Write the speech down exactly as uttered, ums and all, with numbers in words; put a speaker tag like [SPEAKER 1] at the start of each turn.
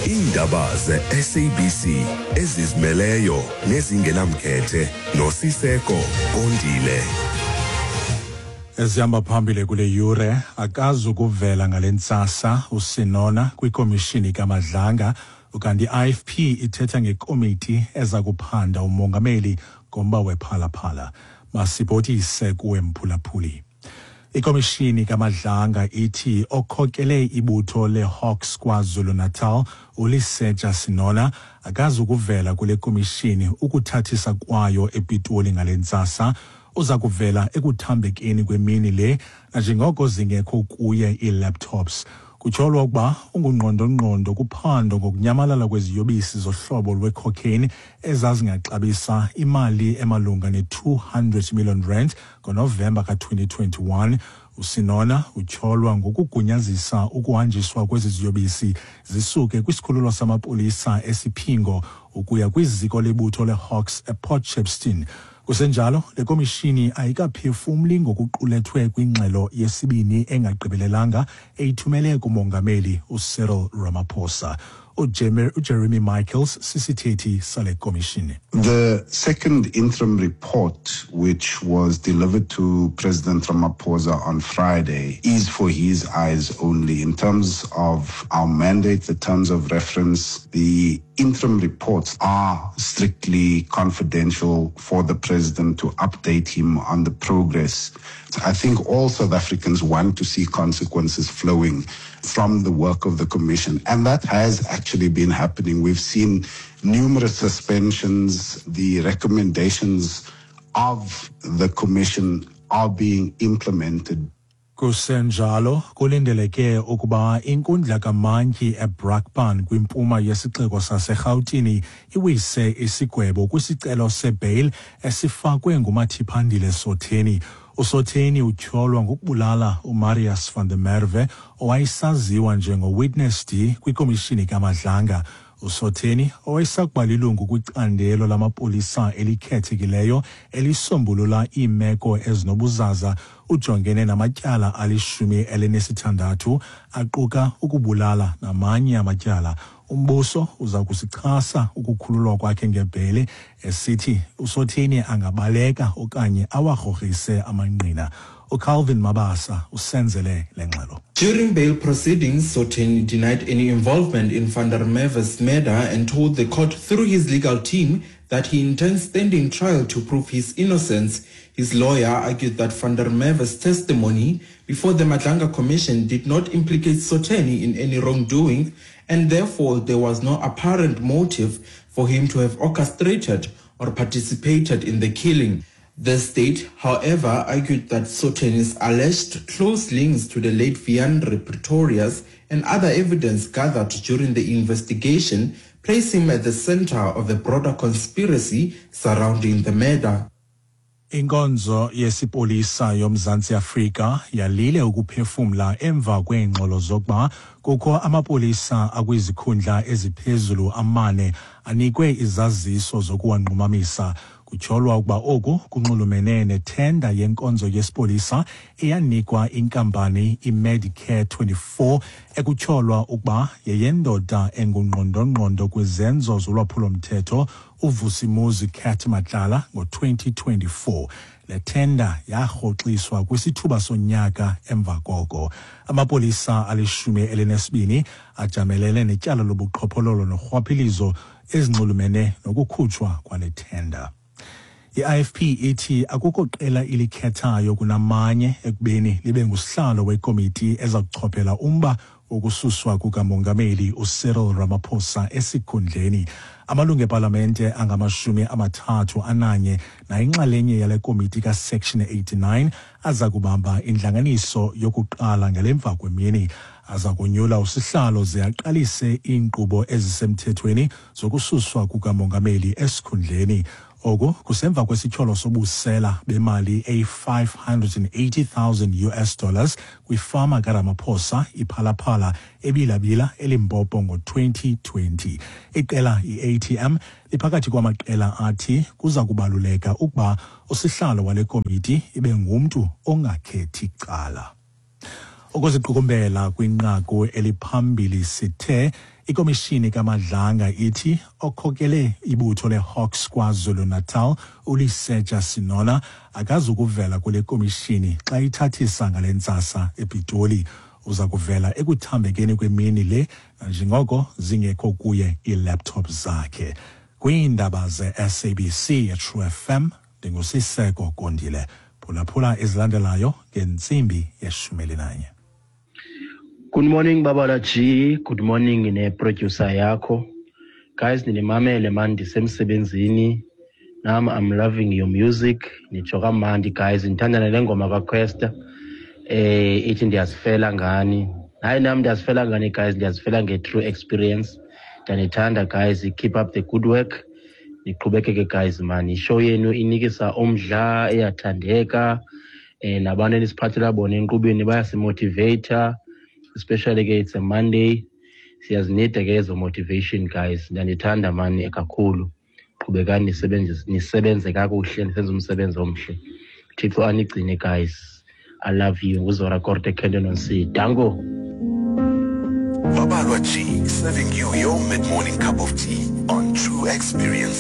[SPEAKER 1] Iindaba ze-S A B C ezizimeleyo nezingenamkhethe noSiseko Kondile.
[SPEAKER 2] Ezihamba phambili kule yure: akazukuvela ngale ntsasa uSenona kwikomishini kaMadlanga, ukanti i-I F P ithetha ngekomiti eza kuphanda umongameli ngomba wePhala Phala. Masibhotise kuwe, mphulaphuli. Ikomishini kaMadlanga ithi okhokele ibutho leHawks KwaZulu-Natal, uLesetja Senona, akazukuvela kule komishini ukuthathisa kwayo ePitoli ngale ntsasa. Uza kuvela ekuthambekeni kwemini le, nanjengoko zingekho kuye ii-laptops. Kutyholwa ukuba ungungqondongqondo kuphando ngokunyamalala kweziyobisi zohlobo lwecocaine ezazingaxabisa imali emalunga ne-two hundred million rand ngoNovemba ka-twenty twenty-one. USenona utyholwa ngokugunyazisa ukuhanjiswa kwezi ziyobisi zisuke kwisikhululo samapolisa eSiphingo ukuya kwiziko lebutho leHawks ePort Shepstone. Kusenjalo, le komishini ayikaphefumli ngokuqulethwe kwingxelo yesibini engagqibelelanga eyithumele kumongameli uCyril Ramaphosa. UJeremy Michaels sisithethi sale komishini.
[SPEAKER 3] The second interim report, which was delivered to President Ramaphosa on Friday, is for his eyes only. In terms of our mandate, the terms of reference, the interim reports are strictly confidential for the president to update him on the progress. I think all South Africans want to see consequences flowing from the work of the commission, and that has actually been happening. We've seen numerous suspensions. The recommendations of the commission are being implemented.
[SPEAKER 2] Kusenjalo, kulindeleke ukuba inkundla kamantyi eBrakpan kwimpuma yesixeko saseRhawutini iwise isigwebo kwisicelo sebail esifakwe nguMatiphandile Sotheni. USotheni utyholwa ngokubulala uMarius van der Merwe, owayesaziwa njengoWitness D kwikomishini kaMadlanga. USotheni, owayesakuba lilungu kwicandelo lamapolisa elikhethekileyo elisombulula iimeko ezinobuzaza, ujongene namatyala alishumi elinesithandathu aquka ukubulala namanye amatyala. Umbuso uza kusichasa ukukhululwa kwakhe ngebhele, esithi uSotheni angabaleka okanye awarhorhise amangqina. UCalvin Mabasa usenzele le ngxelo.
[SPEAKER 4] During bail proceedings, Sotheni denied any involvement in van der Merwe's murder and told the court through his legal team that he intends standing trial to prove his innocence. His lawyer argued that van der Merwe's testimony before the Madlanga Commission did not implicate Sotheni in any wrongdoing, and therefore there was no apparent motive for him to have orchestrated or participated in the killing. The state, however, argued that Sotheni's alleged close links to the late Wiandre Pretorius and other evidence gathered during the investigation place him at the center of a broader conspiracy surrounding the murder.
[SPEAKER 2] Inkonzo yesipolisa yoMzantsi Afrika yalile ukuphefumla emva kweengxolo zokuba kukho amapolisa akwizikhundla eziphezulu amane anikwe izaziso zokuwanqumamisa. Kutyholwa ukuba oku kunxulumene nethenda yenkonzo yesipolisa eyanikwa inkampani iMedicare twenty-four, ekutyholwa ukuba yeyendoda engungqondongqondo kwizenzo zolwaphulomthetho uVusimuzi Cat Matlala ngo-twenty twenty-four. Le thenda yarhoxiswa kwisithuba sonyaka emva koko. Amapolisa alishumi elinesibini ajamelene netyala lobuqhophololo norhwaphilizo ezinxulumene nokukhutshwa kwale thenda. I-I F P ithi akukho qela ilikhethayo kunamanye ekubeni libe ngusihlalo wekomiti eza kuchophela umba wokususwa kukamongameli uCyril Ramaphosa esikhundleni. Amalungu epalamente angamashumi amathathu ananye nayinxalenye yale komiti kaSection eighty-nine aza kubamba intlanganiso yokuqala ngelemva kwemini. Aza kunyula usihlalo ze aqalise iinkqubo ezisemthethweni zokususwa kukamongameli esikhundleni. Oku kusemva kwesityholo sobusela bemali eyi-five hundred and eighty thousand U S dollars kwifama kaRamaphosa iPhala Phala eBila-Bila eLimpopo ngo-twenty twenty. Iqela i-A T M liphakathi kwamaqela athi kuza kubaluleka ukuba usihlalo wale komiti ibe ngumntu ongakhethi cala. Ukuziqukumbela kwinqaku eliphambili, sithe Ikomishini kaMadlanga ithi okhokele ibutho leHawks KwaZulu-Natal uLesetja Senona akazukuvela kule komishini xa ithathisa ngale ntsasa ePitoli. Uza kuvela ekuthambekeni kwemini le nanjengoko zingekho kuye iilaptop zakhe. Kwiindaba ze-S A B C eTrue F M, ndinguSiseko Kondile. Phulaphula ezilandelayo ngentsimbi yeshumi elinanye.
[SPEAKER 5] Good morning, Babala G. Good morning ne-producer yakho. Guys, ninimamele man ndisemsebenzini. Nam I'm loving your music. Nitsho kamandi guys. Ndithanda nale ngoma kaQuesta. Eh ithi ndiyazifela ngani. Hayi, nam ndiyazifela ngani guys, ndiyazifela nge-true experience. Ndiyanithanda guys, keep up the good work. Niqhubekeke guys man. Ishow yenu inikisa umdla, iyathandeka. Eh nabantu enisiphathela bona enkqubeni bayasimotivata, especially ke it's a Monday, siyazinida ke ezo motivation guys. Ndiyanithanda mani kakhulu. Qhubekani nisebenze, nisebenze kakuhle, nisenze umsebenzi omhle. Thixo anigcine guys. I love you. Nguzora Korte, Kenton on C. Dango.
[SPEAKER 1] Babalwa G, serving you your mid-morning cup of tea on True Experience.